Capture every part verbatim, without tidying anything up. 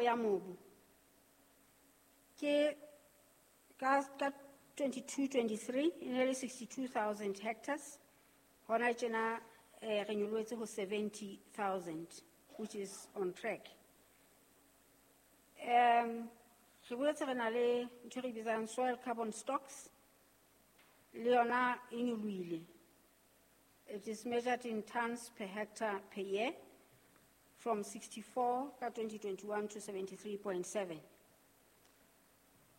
ya mobu ke ka ka twenty-two twenty-three e ne le sixty-two thousand hectares. Hona tjena, eh, re nyolohetse ho seventy thousand, which is on track. Um, re boetse re na le ntho e re bitsang soil carbon stocks, le yona e nyolohile. It is measured in tons per hectare per year, from sixty-four ka twenty twenty-one to seventy-three point seven.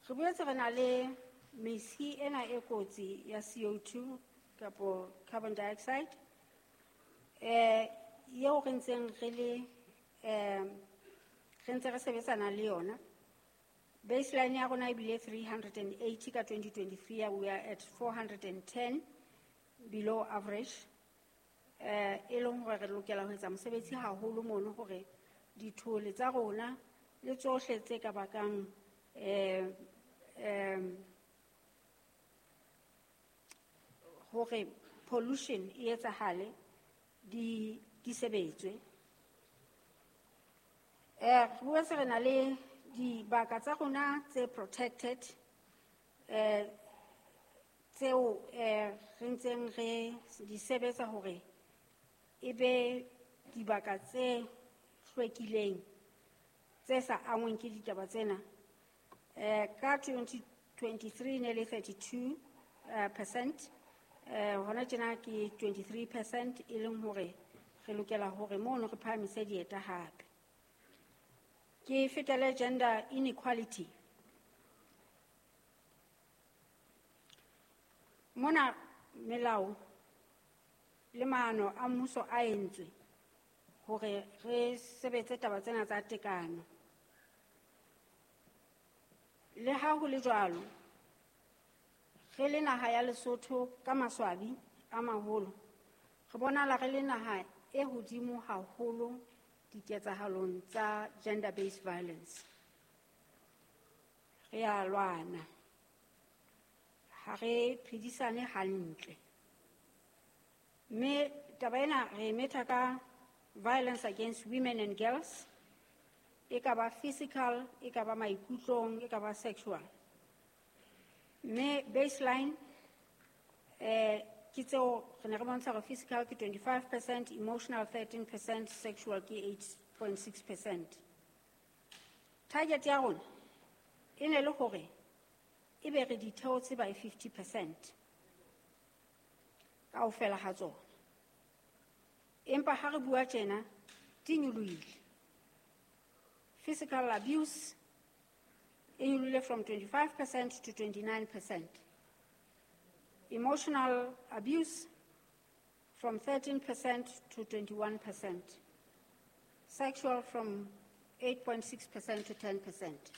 Re boetse re na le mesi ena e kotsi ya C O two kapo carbon dioxide, eh, eo re ntseng re le, eh, re ntse re sebetsana le yona. Baseline ya rona ebile three hundred and eighty ka twenty twenty-three, we are at four hundred and ten, below average. Eh, e leng hore re lokela ho etsa mosebetsi haholo mono hore dithole tsa rona le tsohle tse ka bakang, eh, eh, hore pollution e etsahale di, di sebetswe. Eh, re boetse re na le dibaka tsa rona tse protected, eh, tseo, eh, re ntseng re di sebetsa hore e be dibaka tse hlwekileng, tse sa angweng ke ditaba tsena. Eh, ka twenty twenty-three ne le thirty-two, eh, percent, eh, hona tjena ke twenty-three percent, e leng hore re lokela hore mono re phahamise dieta hape. Ke fetele gender inequality. Mona melao le maano a mmuso a entswe hore re sebetse taba tsena tsa tekano. Le ha ho le jwalo, re le naha ya Lesotho ka maswabi a maholo, re bonahala re le naha e hodimo haholo diketsahalong tsa gender-based violence. Re a lwana, ha re phedisane hantle. Mme taba ena re e metha ka violence against women and girls, e ka ba physical, e ka ba maikutlong, e ka ba sexual. Mme baseline, eh, ke tseo re ne re bontsha hore physical ke twenty-five percent, emotional thirteen percent, sexual ke eight point six percent. Target ya rona e ne le hore e be re di theotse by fifty percent kaofela ha tsona. Empa ha re bua tjena, di nyolohile. Physical abuse e nyolohile from twenty-five percent to twenty-nine percent. Emotional abuse from thirteen percent to twenty-one percent. Sexual from eight point six percent to ten percent.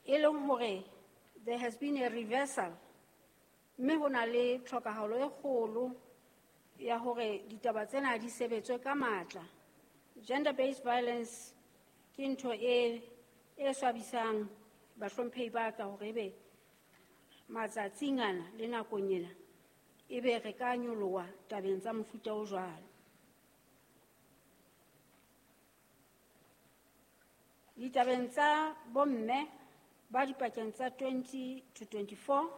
E leng hore there has been a reversal, mme ho na le tlhokahalo e kgolo ya hore ditaba tsena di sebetswe ka matla. Gender-based violence ke ntho e, e swabisang bahlomphehi ba ka hore ebe matsatsing ana le nakong ena ebe re ka nyoloha tabeng tsa mofuta o jwalo. Ditabeng tsa bomme ba dipakeng tsa twenty to twenty-four,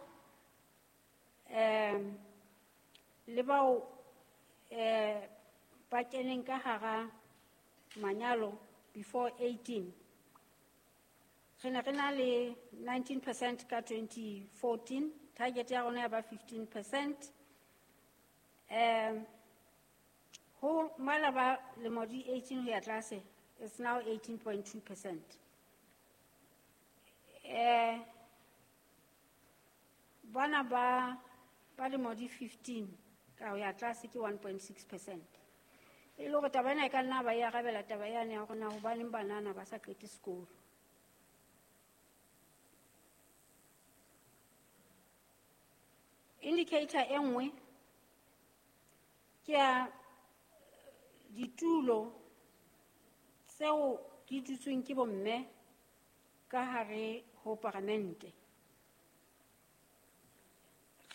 eh, le bao, eh, ba keneng ka hara manyalo before eighteen, re ne re na le nineteen percent ka twenty fourteen, target ya rona ya ba fifteen percent. Eh, ho mala ba lemo di eighteen ho ya tlase, it's now eighteen point two percent. Eh, bana ba, ba lemo di fifteen ka ho ya tlase ke one point six percent. E le hore taba ena e ka nna ba e arabela taba yane ya hore na hobaneng banana ba sa qete sekolo. Indicator e nngwe ke ya ditulo tseo di dutsweng ke bomme ka hare ho paramente.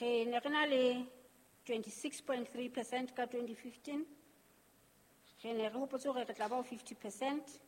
Re ne re na le twenty-six point three percent ka twenty fifteen. Re ne re hopotse hore re tla ba ho fifty percent.